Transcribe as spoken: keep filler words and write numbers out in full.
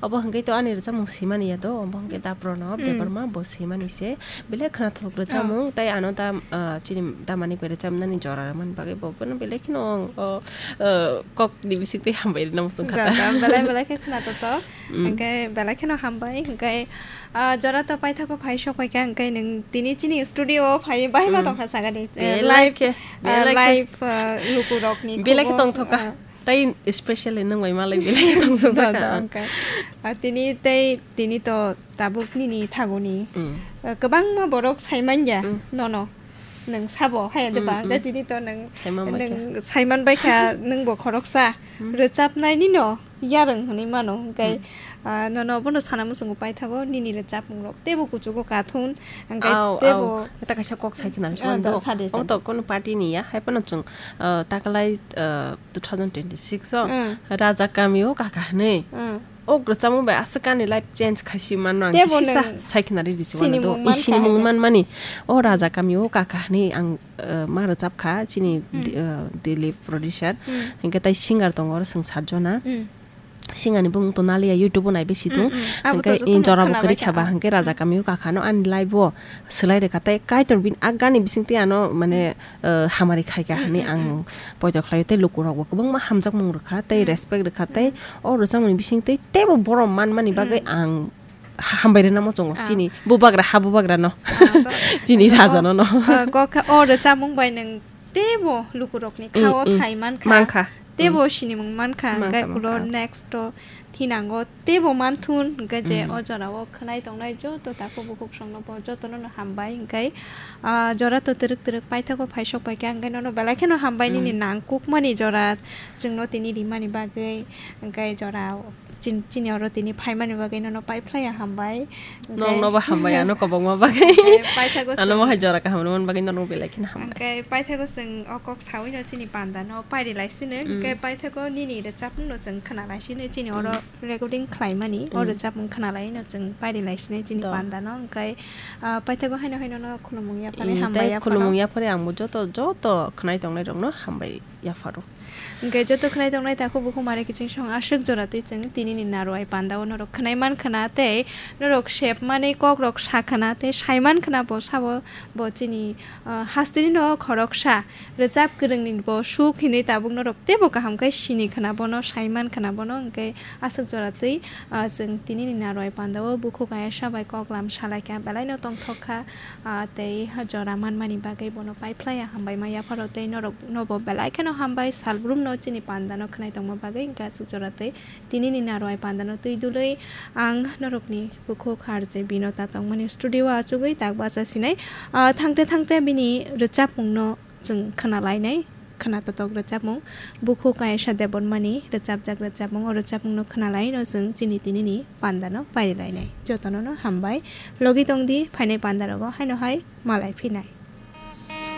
Obo hwnkhe to ani rwchapmung swimani ya do, obo hwnkhe Daprono Hmm. Debbarma bo swimani se. Belai khwnathok rwchapmung, Oh. Tai ano da, ah, chini damani bai rwchapnani jora rwmani bagwi bo bono belai kheno ang, oh, ah, kokni bisingtwi hambai rwna muchung kha ta. Da, da, belai, belai khe khwnathok to. Hmm. Hwnkhe belai kheno hambai, hwnkhe, ah, jora to paithago phai sok phaikha, hwnkhe nwng tini chini studio o phai bai ma Hmm. Tongkha sagani. Eh, Belai live, khe, ah, belai khe. Live, ah, lukurokni Belai khe khobor, tongthok kha. Ah, Tai specially nwng bai malai belai tong tong Da, saka. Da, hwnkhe. Ah, tini tei, tini to tabuk nini thaguni. Mm. Ah, kwbangma borok saimanya Mm. Nono. Nwng sabo haya de Mm, ba, hwnkhe mm. Tini to nwng, Saima nwng maikha. Saiman baikha, nwng bo khoroksa. Mm. Rwchapnai nino yarwng hwnwi mano, hwnkhe, Mm. Ah, nono bono sana muchungo paithago, nini rwchapmung rok teibo kuchugo kathun, hwnkhe Au, teibo au. Ta kaisa kok sai khna Ah, mano da, do. Sa de, sa Omo de. To kono party ni ya, hai phano chwng, ah, takalai, ah, two thousand twenty-six o Mm. Raja Kami o Kaka hwnwi. Mm. O rwchapmung bai aswk ani life change khaisi mano ang Teibo kisisa nwng sai khna ri risi sinimung mano do. Mankha Sinimung hwnkhe. Manmani. O Raja Kami o Kaka hwnwi ang, ah, ma rwchap kha chini Mm. Di-, ah, Dilip producer. Mm. Hwnkhe tai singer tongo oro chwng sat jona. Mm. Singani bumung to naliya YouTube o naibe situng. Mm, mm. Abo to Hwnkhe jotono in jora bo khwna kwrwi bai kha ba, ba. Hwnkhe Raja Kami o Kaka no ani live o swlai rwkha tei Kaitor bini agani bisingtwi ano mane, eh, hamari khaikha Mm, hwnwi mm, ang mm. Poito khlaio tei lukurok bo kwbangma hamjakmung rwkha tei Mm. Respect rwkha tei Mm. O rwchapmungni bisingtwi teibo borom manmani bagwi Mm. Ang ha-, hambai rwna muchungo Ah. Chini bubagra ha bubagra no. Ah, to Chini Raja no no. Ah, kok kha o rwchapmung bai nwng teibo lukurokni Mm, khao mm. Thai mankha. Mankha. Teibo Mm. Sinimung mankha, Mankha, hwnkhe ulo mankha. Next o thinango teibo manthun, hwnkhe je Mm. O jorao khwnai tongnai joto takhuk bukhuk songno bo jotono no hambai, hwnkhe, ah, jora to twrwk twrwk paithago phai sok paikha, hwnkhe nono belai kheno hambai nini Mm. Nangkukmani jora chwngno tini rimani bagwi, hwnkhe jora chin-, chini oro tini phaimani bagwi nono paiphlaiya hambai. Hwnkhe Nokno bo hambai, ano kwbangma bagwi. Hwnkhe paithago Ano chwng mohai jora kaham rwmani bagwi nono belai kheno hambai. Hwnkhe paithago chwng o kok sawino chini pandano pairi lai sino, Mm. Hwnkhe paithago nini rwchapmungno chwng khwna lai sino chini oro Mm. Recording khlaimani, o Mm. Rwchapmung khwna laino chwng pairi lai sino chini Do. Pandano, hwnkhe, ah, paithago haino haino no khulumung yaphani Mm, hambai tei yaphano. Khulumung yaphari ang bo joto, joto khwnai tongnai rokno hambai yapharo. Hwnkhe joto khwnai tongnai takhuk bukhuk mare kiching song aswk jora twi chwng tinini narwai pandao norok khwnai man khwna tei norok sep mani kok rok sa khwna tei sai man khwna bo sabo bo chini, ah, hasteni no khoroksa rwchap kwrwngni bo suk hinwi tabuk norok teibo kaham khe sini khwna bono sai man khwna bono hwnkhe aswk jora twi, ah, chwng tinini narwai pandao bukhuk ayasa bai koklam salaikha belaino tongthok kha. Ah, tei jora manmani bagwi bono paiphlaiya hambai ma yapharo tei norok nobo belai kheno hambai salbrumno chini pandano khwnai tongma bagwi hwnkhe aswk jora tei tinini narwai pandano twi dului ang norokni bukhuk harje bino ta tongmani studio o achugwi tak bacha sinai. Ah, thangte thangte bini rwchapmungno chwng khwna lainai, khwna totok rwchapmung, bukhuk ayasa debonmani rwchapjak rwchapmung, o rwchapmungno khwna laino chwng chini tinini pandano pairi lainai. Jotono no hambai. Logi tongdi phainai pandarogo haino hai malai phinai.